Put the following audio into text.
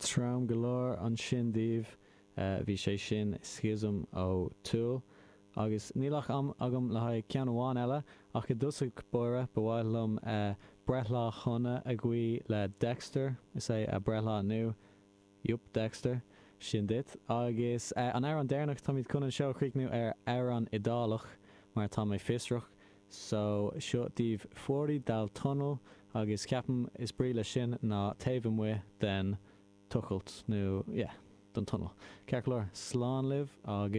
Trom go leor ansin daoibh. Bhí sé sin Schism ó Tool. Agus níl ach am agam le haghaidh ceann amháin eile, ach i dtosach báire ba mhaith liom breithlá shona a ghuí le Dexter, is é a breithlá inniu. Yup, Dexter. Sin duit. Agus an amhrán deireanach, táimid chun an seó a chríochnú ar amhrán Iodálach, mar tá mé fiosrach. So, seo daoibh Fuori dal tunnel, agus ceapaim is brí leis sin ná taobh amuigh den tochailt, nó, yeah, den tunnel. Ceart go leor, slán libh agus.